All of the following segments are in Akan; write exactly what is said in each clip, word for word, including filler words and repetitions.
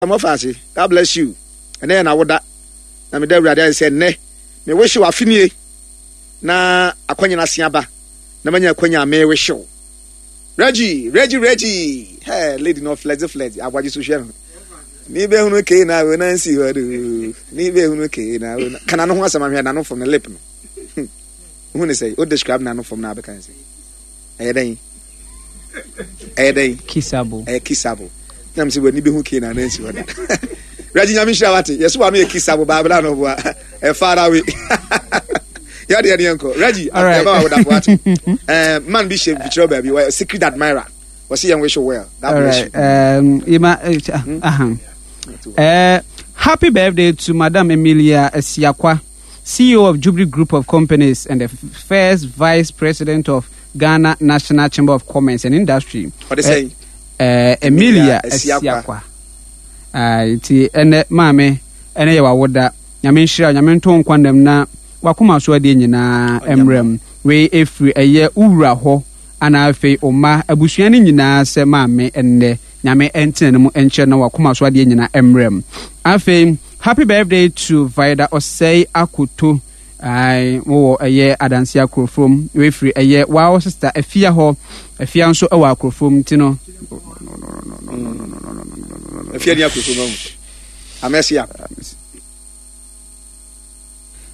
Mɔfa ase. God bless you. Ɛnɛ yɛ n'awoda na meda Awurade ayɛ sɛ nnɛ me wehyew afe nie na akwanya no ase aba na manya akwanya a mewehyew. Reggie, Reggie, Reggie. Hey, lady no flex flex. Abwaji so hwɛ no. Ni be hunu ke na we na nsi hɔ do. Ni be hunu ke na we na. Kana no ho asɛm ahwɛ na no fam ne lip no. Hu ne sɛ o describe na no fam na abɛka ne sɛ. Ɛyɛ dɛn? Ɛyɛ dɛn? Kissable. Ɛyɛ kissable. Nam sɛ w'ani bɛhu ke na na nsi hɔ da. Reggie, Nyame nhyira wate. Yɛso wa no yɛ kissable baabla no boa. Ɛ far away. Yɛde yɛde yɛnkɔ. Reggie, All right. yɛba wa wodafo wate. Eh, man bi hyɛ mfikyerɛ baabi. Wɔyɛ secret admirer. Wɔsi yɛn wish you well. God All bless right. you. Um, Ima, uh, uh-huh. uh, happy birthday to Madam Emilia Esiakwa, C E O of Jubilee Group of Companies and the first Vice President of Ghana National Chamber of Commerce and Industry. Ɔde sɛn? Uh, Emilia Emilia Esiakwa. Esiakwa. Uh, nti ɛnɛ maame ɛnɛ yɛ wawoda. Nyame nhyira wo, Nyame nto nkwa nam na wakoma so adeɛ nyinaa mmerɛ mu. Wei ɛfiri ɛyɛ wowura hɔ ana afei ɔma abusua no nyinaa sɛ maame ɛnnɛ Nyame ɛntena no mu ɛnkyerɛ na wakoma so adeɛ nyinaa mmerɛ mu. Afei happy birthday to Vida Ɔsɛe Akoto. Ai, mowɔ ɛyɛ Adanse Akorofom. Wei firi ɛyɛ wow sister Afia hɔ. Afia nso ɛwɔ Akorofom nti no. Afia ni akoto no. Amɛsia.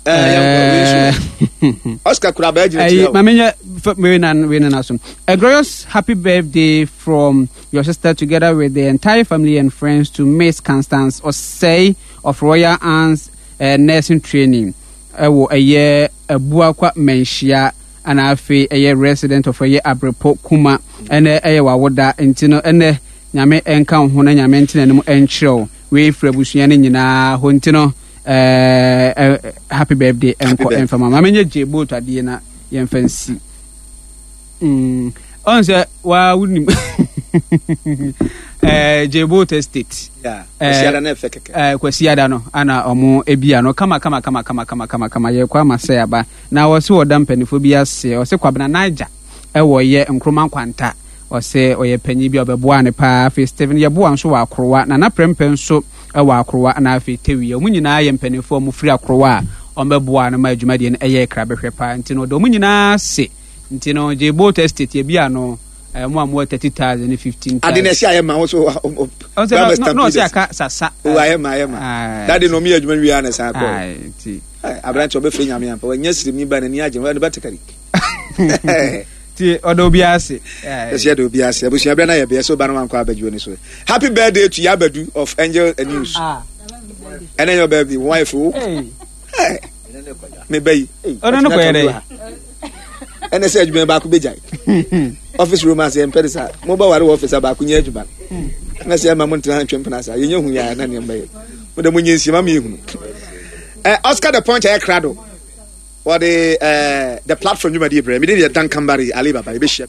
Eh, yɛnkɔ, wei nso. Oscar kura bɛɛ gyina Ɛyi, kyerɛ o. Maame nyɛ f- wei na wei na na so. A glorious happy birthday from your sister together with the entire family and friends to Miss Constance Osei of Royal Anns uh, Nursing Training. Ɛwɔ ɛyɛ Abuakwa Manhyia ana afei ɛyɛ resident of ɛyɛ Abrepo Kuma. Ɛnɛ ɛyɛ wawoda nti no ɛnɛ Nyame ɛnka wo ho na Nyame ntena anim ɛnkyerɛ wo. Wei firi abusua no nyinaa hɔ nti no ɛɛ ɛ happy birthday ɛnkɔ Birthday. Ɛmfa ma maame nyɛ gye boat adeɛ na yɛmfa nsi mm ɔn sɛ waa wonim ɛɛ gye boat estate. Yeah. Eh, Kwasiada na ɛfɛ kɛkɛ. ɛɛ Kwasiada no ana ɔmo ebia no kama kama kama kama kama kama kama. Yɛkɔ ama sɛ aba na wɔsi wɔda mpanimfoɔ bi ase. Ɔsɛ Kwabena Naija ɛwɔ yɛ Nkroma Nkwanta, ɔsɛ ɔyɛ panyin bi a ɔbɛboa ne paa. Afei Steven Yɛboa nso wɔ Akorowa, Nana Prɛmpɛ nso ɛwɔ Akorowa, na afei Tewi. Ɔmo nyinaa yɛ mpanimfoɔ a ɔmo firi Akorowa a ɔmo bɛboa no ma adwumadeɛ no ɛyɛ kra bɛhwɛ paa nti no ɔde ɔmo nyinaa ase. Nti no gye boat estate yɛbi ano ɛɛ mo a mo wɔ thirty thousand ne fifteen Ade na thousand. ɛsi ayɛ ma wo so. Ɔsɛ na na ɔsɛ aka sasa. O ayɛ ma, ayɛ ma. Aye. Dade na ɔmo yɛ adwuma wie na san kɔ. Aye, nti Aberante ɔbɛfrɛ Nyame ampa. Wanya sirimni ba n'ani agye. Wɔn bɛte kari. Nti ɔdɔ obi ase. Ɛsɛ yɛde obi ase. Abusua bɛrɛ na yɛ bɛyɛ sɛ ɔba no wankɔ abadwuo ni so. Happy birthday to Yabadu of Angel News. Ah. Ɛnɛ yɛ birthday. Wɔn ayɛ fɛ o. Hey. Me ba yi. Ɔno no kɔyɛ dɛ? Ɛnɛ sɛ adwuma baako bɛgyae. Office romance yɛn mpɛ de sa. Mo ba ware wɔ office a baako nyɛ adwuma. Na sɛ ɛma mo ntena ntwe mpena sa. Yɛnyɛ hu yɛ na nneɛma yɛ. Mo de mo nyɛ nsia ma mi ehunu. Ɛ Oscar the Punch ɛyɛ krado. Wɔde ɛɛ the platform dwumadie brɛ. Mi de deɛ Duncan Barry Ali Baba yɛbɛhyia.